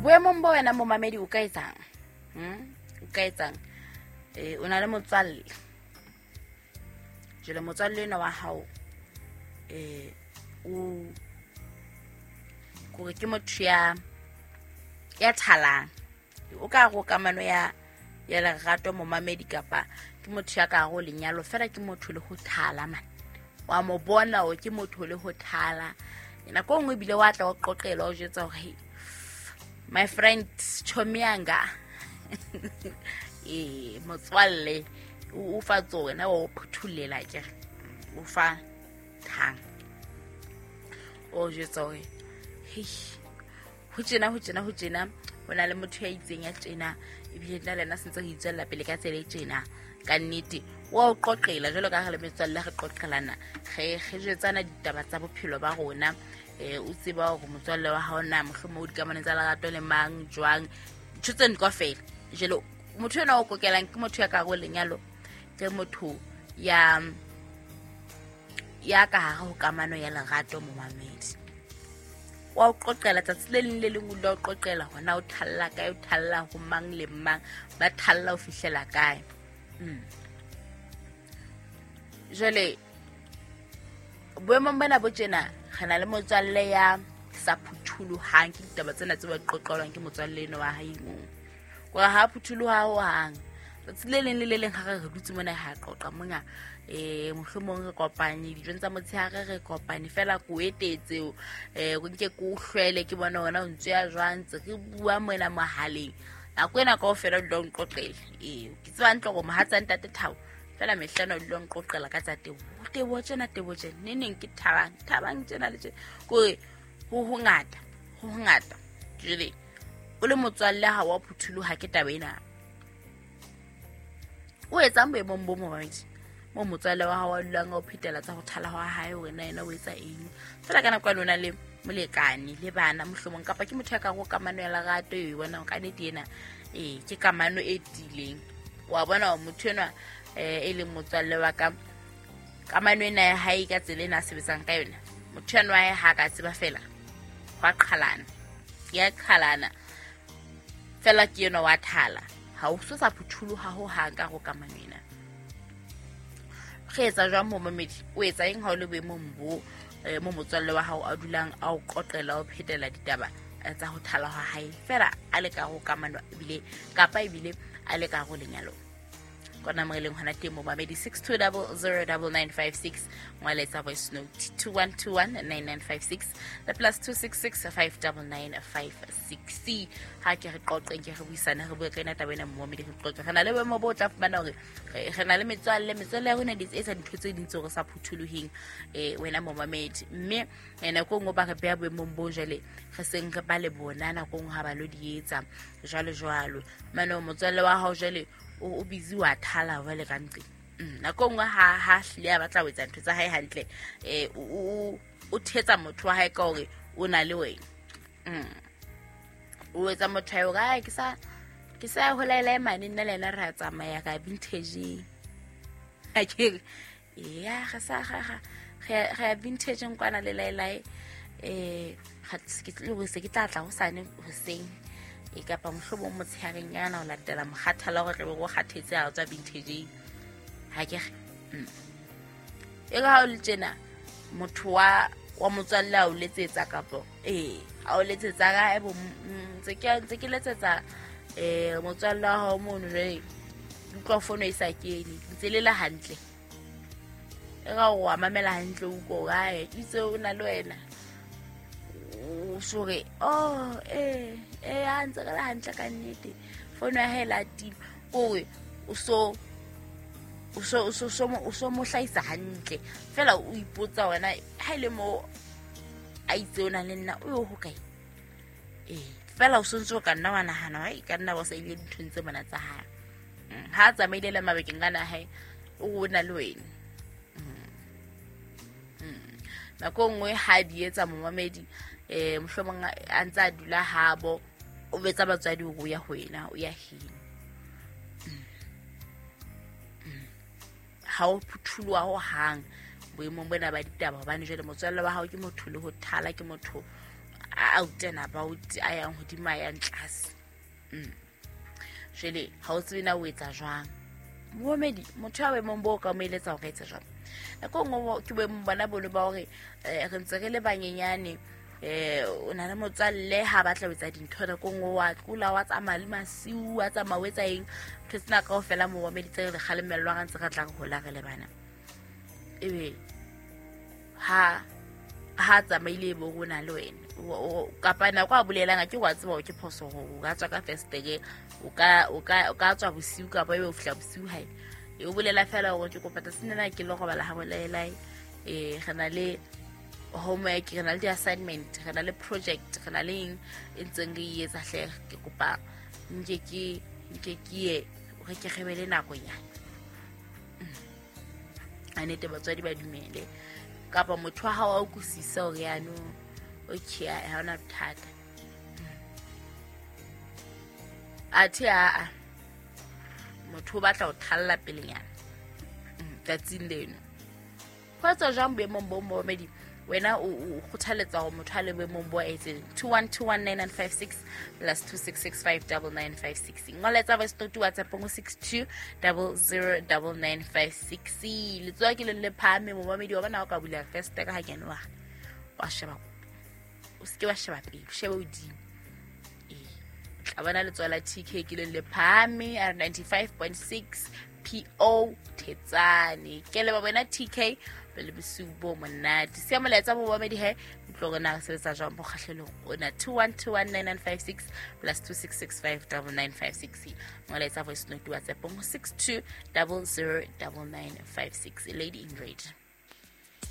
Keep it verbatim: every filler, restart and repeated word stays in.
Boemong bo wena momamedi o ka etsang? Hmm? O ka etsang? Eh, o na le motswalle. Jwale motswalle ena wa hao eh o kore ke motho ya ya thalang. O ka re o kamano ya ya lerato momamedi kapa ke motho ya ka re o lenyalo fela ke motho le ho thala man. Wa mo bona o ke motho le ho thala. Nako nngwe ebile wa tla o qoqela o jwetsa hore hey, my friend chomianga eh motswalle o fa tsona o phuthulela ke o fa thang o jwetsa hore hey ho tjena ho tjena ho tjena ho na le motho ya itseng ya tjena ebile nna le yena sentse re itswella pele ka tsela e tjena ka nnete wa o qoqela jwalo ka re le metswalle re qoqelana re re jwetsana ditaba tsa bophelo ba rona. Eh o tseba hore motswalle wa hao na mohlomong o dikamano tsa lerato le mang jwang ntho tseno kaofela. Jwale motho ena o kokelang ke motho ya ka hare ho lenyalo, ke motho ya ya ka hare ho kamano ya lerato momamedi. Wa o qoqela tsatsi le leng le leng o dula o qoqela hona o thalla kae, o thalla ho mang le mang, ba thalla ho fihlela kae. Mm. Jwale boemong bona bo tjena re na le motswalle ya sa phuthulohang ke ditaba tsena tse ba qoqelwang ke motswalle eno wa hae moo. Kore ha phuthuloha hohang. Tsatsi le leng le le leng ha re re dutse mona ha qoqa mona eh mohlomong re kopane dijong tsa motshehare re kopane fela ko etetse eh go nke ko hlwele ke bona hona o ntse ya jwang ntse re bua mona mohaleng. Nako ena kaofela o dula o nqoqela. Eh ke tseba hantle hore mohatsa ntate Thabo fela mehlano o dula o nqoqela ka tsa tebo. Tebo tjena tebo tjena ne neng ke thabang thabang tjena le tjena kore ho hongata ho hongata. Jwale o le motswalle ha wa phuthuloha ke taba ena. O etsang boemong bo momamedi mo motswalle wa hao a dulang a o phetela tsa ho thala hwa hae wena yena o etsa eng fela ka nako ya lona le molekane le bana mohlomong kapa ke motho ya ka go kamano ya lerato e bona ka nnete ena eh ke kamano e tiileng. Wa bona hore motho enwa eh e leng motswalle wa ka kamano ena ya hae ka tsela ena a sebetsang ka yona motho enwa wa hae ha ka tseba fela hwa qhalana ya qhalana fela ke enwa wa thala ha o so sa phuthuloha ho hang ka go kamano ena. Re etsa jwang momamedi? O etsa eng ha o le boemong bo mo motswalle wa hao a dulang a o qoqela o phetela ditaba tsa ho thala ha hae fela a le ka go kamano ebile kapa ebile a le ka go lenyalo? Kona mo eleng hona teng momamedi six two zero zero nine nine five six ngwaletsa voice note two one two one nine nine five six le plus two six six five nine nine five six. Ha ke re qoqeng ke re buisane re bue ka ena taba ena momamedi re qoqe re na le boemo bo tla fumana hore re na le metswalle metswalle ya rona di etsa dintho tse ding tseo re sa phuthuloheng eh wena momamedi mme nako nngwe ba re beha boemong bo jwale re seng re ba le bona nako nngwe ha ba lo di etsa jwalo jwalo. Mane motswalle wa hao jwale o busy wa thala jwale ka ntle. Nako nngwe ha ha hlile a batla ho etsa ntho tsa hae hantle eh o o thetsa motho wa hae ka hore o na le wena. Mm. O etsa motho wa hae ke sa ke sa holaela mane nna le yena re a tsamaya ka vintage. A ke ya re sa ga ga re ya vintage nkwana le laelae eh ga ke tle ho se ke tla tla hosane hoseng e kapa mohlomong motshehareng yana o latela mokgathala hore tlebe go kgathetse ha o tswa vintage ha ke re e ka ha o le tjena motho wa wa motswalle a o letsetsa kapa eh a o letsetsa ka ebo ntse ke ntse ke letsetsa eh motswalle wa hao mono jwale utlwa fono e sa kene ntse le la hantle e ka o mamela hantle o ko gae itse o na le wena o sore oh eh eh a ntse re le hantle ka nnete fono ya hae la tima kore o so o so o so o so mo hlahisa hantle fela o ipotsa wena ha ile mo a itse o na le nna o yo ho kae eh fela o sontse o ka nna wa nahana ha e ka nna ba sa ile dinthong tse mona tsa hae ha a tsamaile le mabakeng ana hae o na le wena. Nako nngwe ha di etsa momamedi eh mohlomong a ntse a dula habo o betsa batswadi hore o ya ho yena o ya heno ha o phuthuloha ho hang boemong bona ba ditaba hobane jwale motswalle wa hao ke motho le ho thala ke motho a out and about a yang hodimo a yang tlase. Mm. Jwale ha o tsebe na o etsa jwang. Momedi motho a boemong bo ka mo eletsa hore etsa jwang. Nako nngwe ke boemong bona bono ba hore re ntse re le banyenyane, eh o na le motswalle ha batla ho etsa dintho nako nngwe wa tlola wa tsamaya le masiu wa tsamaya o etsa eng, ntho tsena kaofela momedi tse re kgalemellwang re ntse re tla re hola re le bana. Ebe ha ha tsamaile bo rona le wena kapa nako a bolelang ke wa tseba hore ke phoso hore o ka tswa ka festere, o ka o ka o ka tswa bosiu kapa ebe o fihla bosiu hae. E o bolela fela hore ke kopa tsatsing lena ke lo robala ha bolelai, eh re na le homework, re na le di-assignment, re na le project, re na le eng e ntseng re e etsa hle, ke kopa nke ke nke ke ye re ke re be le nakonyana. A nete batswadi ba dumele kapa motho wa hao a utlwisise hore yanong okay ha hona bothata. Athe a motho o batla ho thalla pelenyana tsatsing leno. Ho etsa jwang boemong bo momedi wena o kgothaletsa hore motho a le boemong bo a etseng? Two one two one nine nine five six plus two six six five double nine five six. Ngoletsa voice note WhatsApp go six two double zero double nine five six. Letsoa ke le le phahame momedi wa bona o ka bula festere ha kene wa wa sheba, o seke wa sheba pele, o shebe hodimo. Eh, tla bona letsoa la T K ke le le phahame a ninety-five point six P O Thetsane. Ke le ba bona T K pele bosiu bo monate. Siya molaetsa bo mamedi he utlwe hore na re sebetsa jwang bo kgahlelong ona. Two one two one nine nine five six plus two six six five double nine five six. Molaetsa voice note WhatsApp go six two double zero double nine five six. Lady in Red.